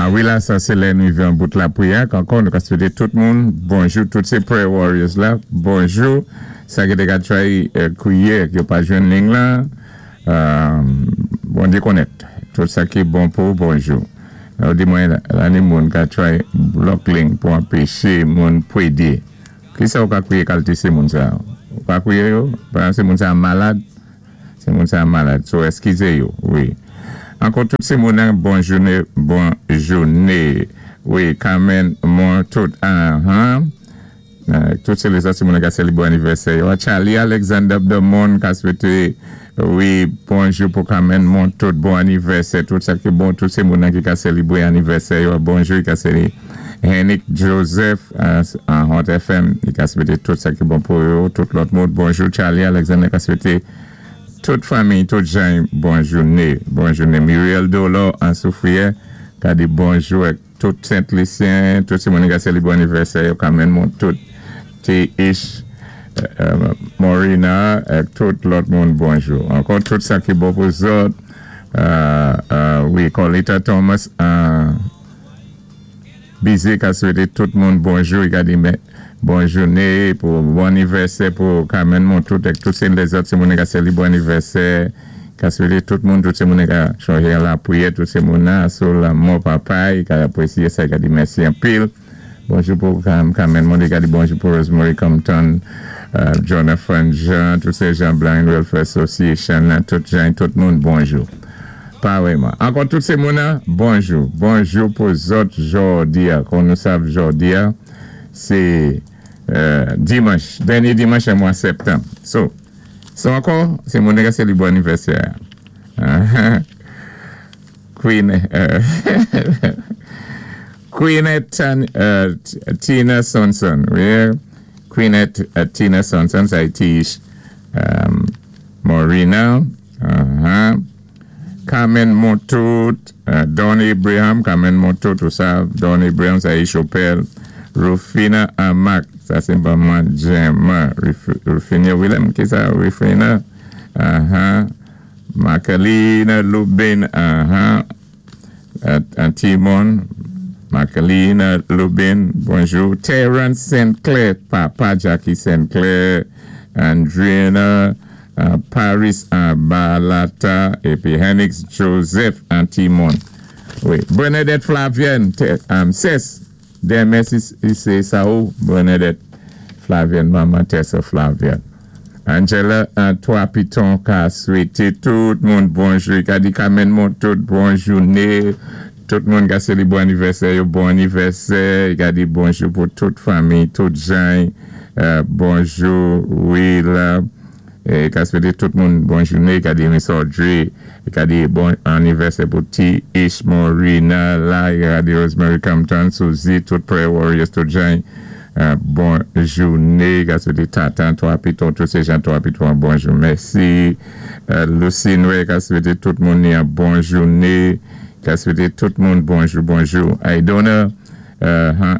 A wi la, sa sé lè nou vivé an bout lapriyè. Ankò, nou ka swété tout moun bonjou, tout sé prayer warriors la. Bonjou. Sa ki té ka try kwiyé, yo pa jwenn ling la. Bondyé konnèt. Tout sa ki bon pou bonjou. Ou di mwen, la ni moun ka try block link pou anpéché moun pwédé. Ki sa ou ka kwiyé kalité sé moun sa? Ou ka kwiyé yo? Pa sé moun sa malad? Sé moun sa malad. So, eskizé yo, wi. Ankò tout sé moun bon jouné, bon jouné. Wi, Carmen, mon tout, ah, Tout sé lézòt sé moun ka sélébwé anivèsè yo. Charlie Alexander Demon ka swété, wi, bonjou pou Carmen mon tout, bon anivèsè, tout sa ki bon, tout sé moun ki ka sélébwé anivèsè yo. Bonjou, i ka sélé Henrik Joseph an Hot FM, i ka swété tout sa ki bon pou yo, tout lòt moun. Bonjou Charlie Alexander ka swété tout fanmi, tout jan, bon jouné, bon jouné. Muriel Dolo an Soufrière ka di bonjou ak tout Sent Lisyen, tout sé moun ka sélébwé anivèsè yo, Carmen mon tout, T. Ish, Morina, ak tout lòt moun bonjou. Ankò tout sa ki bon pou zòt, wi, Colita Thomas, Bizé ka swété tout moun bonjou, i ka di men, bon jouné, pou bon anivèsè pou Carmen Montout, ak tout sé lézòt sé moun ka sélébwé anivèsè, ka swété tout moun, tout sé moun ka chonjé an lapriyè, tout sé moun nan, sou lanmò papa, i ka apwésyé sa, i ka di mèsi anpil. Bonjou pou Carmen Monde, i ka di bonjou pou Rosemary Compton, Jonathan Jean, tout sé jan Blind Welfare Association, tout jan, tout moun, bonjou. Pa wèman. Ankò tout sé moun, bonjou. Bonjou pou zòt jòdi a. Kon nou sav jòdi a, sé dimanch, dènyé dimanch an mwa septanm. So ankò, sé moun ka sélébwé anivèsè. Queen, Queenette Tina Sonson, wi, Queenette Tina Sonson, sa é Morina, Carmen Montout, Don Abraham, Carmen Montout, tout sa, Don Abraham, sa é Chopel, Rufina Amak, sa sé manman Gemma, Rufina Willem, ki sa, Rufina? Makalina Lubin, Timon, Makalina Lubin, bonjou. Terence Sinclair, papa Jackie Sinclair, Andrina, Paris Balata, épi Henix Joseph Antimon. Wi, Bernadette Flavienne, Cess, denmen sé sa ou, Bernadette Flavienne, manman Tessa Flavienne. Angela Trois Piton ka swété tout moun bonjou. Ka di Carmen mon tout bon jouné. Tout moun ka sélébwé anivèsè yo, bon anivèsè. Ka di bonjou pou tout fanmi, tout jan. Bonjou, wi la. É ka swété tout moun bon jouné. Ka di Miss Audrey. Ka di bon anivèsè pou T. Ish Morina la. Ka di Rosemary Compton, Suzy, tout Prayer Warriors, tout jan. Bon jouné. Ka swété Tatan, Trois Pitons, tout sé jan Trois Pitons, bonjou. Mèsi. Lucy Noé, ka swété tout moun yon bon jouné. Ka swété tout moun bonjou, bonjou. Aidona,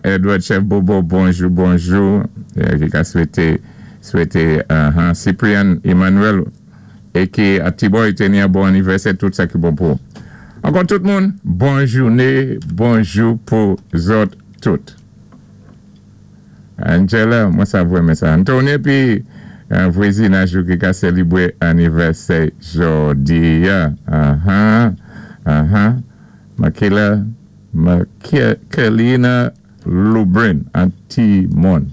Edward Chef Bobo, bonjou, bonjou. Ki ka swété Cyprian Emmanuel, é ki a T-Boy té ni bon anivèsè, tout sa ki bon pou. Ankò tout moun, bon jouné, bonjou pou zòt tout. Angela, mwen sa vwèmen sa. Anthony pi vwazinaj ki ka sélébwé anivèsè jòdi a. Makela, Makelina Lubrin, Antimon.